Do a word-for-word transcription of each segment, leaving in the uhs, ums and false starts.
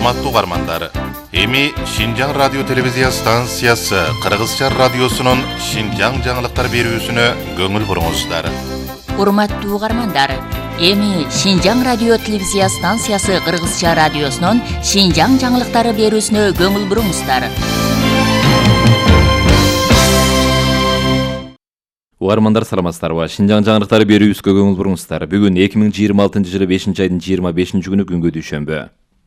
Урматтуу угармандар, эми Шинжаң радио телевизия станциясы Кыргызча радиосунун Шинжаң жаңылыктар берүүсүнө көңүл буруңуздар. Урматтуу угармандар, эми Шинжаң радио телевизия станциясы Кыргызча радиосунун Шинжаң жаңылыктары берүүсүнө көңүл буруңуздар. Угармандар саламатсыздарбы? Шинжаң жаңылыктары берүүбүзгө көңүл буруңуздар. Бүгүн эки миң жыйырма алтынчы жылы бешинчи айдын жыйырма бешинчи күнү күнгө дүйшөмбү.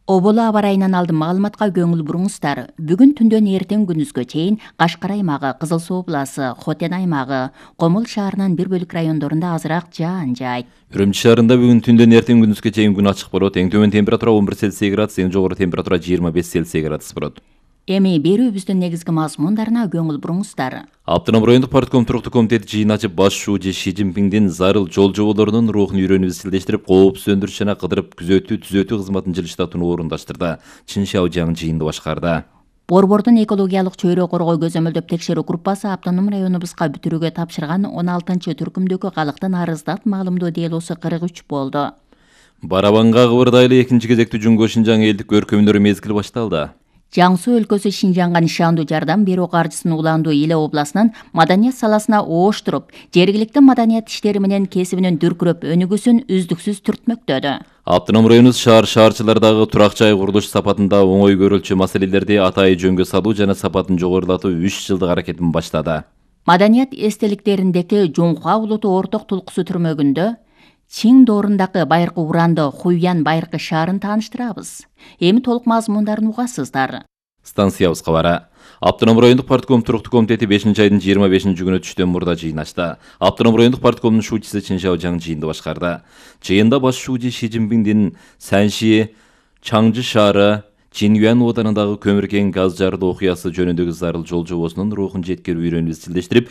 Оболу аба ырайынан алдын маалыматка көңүл буруңуздар. Бүгүн түндөн эртең күнүзгө чейин Кашкар аймагы, Кызыл Суу областы, Хотен аймагы, Комул шаарынын бир бөлүк райондорунда азыраак жаан жаайт. Үрүмчү шаарында бүгүн түндөн эртең күнүзгө чейин күн ачык болот. Эң төмөн температура он бир Цельсий градус, эң жогору температура жыйырма беш Цельсий градус болот. Эми берүүбүздүн негизги мазмундарына көңүл буруңуздар. Автоном райондук партком туруктуу комитети жыйын ачып, баш шууучу Ши Цзиньпиңдин зарыл жол жоболорунун рухун үйрөнүп изчилдештирип, коопсуз өндүрүш жана кыдырып күзөтүү түзөтүү кызматын жылыштатууну орундаштырды. Чин Шаожаң жыйынды башкарды. Борбордун экологиялык чөйрө коргоо көзөмөлдөп текшерүү группасы автоном районубузга бүтүрүүгө тапшырган он алтынчы түркүмдөгү калктын арыздат маалымдоо делосу кырк үч болду. Барабанга кыбырдайлы экинчи кезектүү Жумго Шинжаң элдик көркөмдөрү мезгили башталды. Жаң Суу өлкөсү Шинжаңга нишандуу жардам берүү каржысын улаандуу Иле областынын маданият саласына ооштуруп, жергиликтүү маданият иштери менен кесибинин дүркүрөп өнүгүүсүн үздүксүз түртмөктөдү. Автоном районубуз шаар шаарчылардагы турак жай курулуш сапатында оңой көрүлчү маселелерди атайы жөнгө салуу жана сапатын жогорулатуу үч жылдык аракетин баштады. Маданият эстеликтериндеги Жумха улуту орток тулкусу түрмөгүндө Чиң доорундагы байыркы уранды Хуйян байыркы шаарын тааныштырабыз. Эми толук мазмундарын угасыздар. Станциябыз кабары. Автоном райондук партком туруктуу комитети бешинчи айдын жыйырма бешинчи күнү түштөн мурда жыйын ачты. Автоном райондук парткомдун шуучусу Чин Шаожаң жыйынды башкарды. Жыйында баш шуучу Ши Цзиньпиңдин Санши, Чаңжы шаары, Чинюан оданындагы көмүр кен газ жарылуу окуясы жөнүндөгү зарыл жол жобосунун рухун жеткирип үйрөнүп изчилдештирип,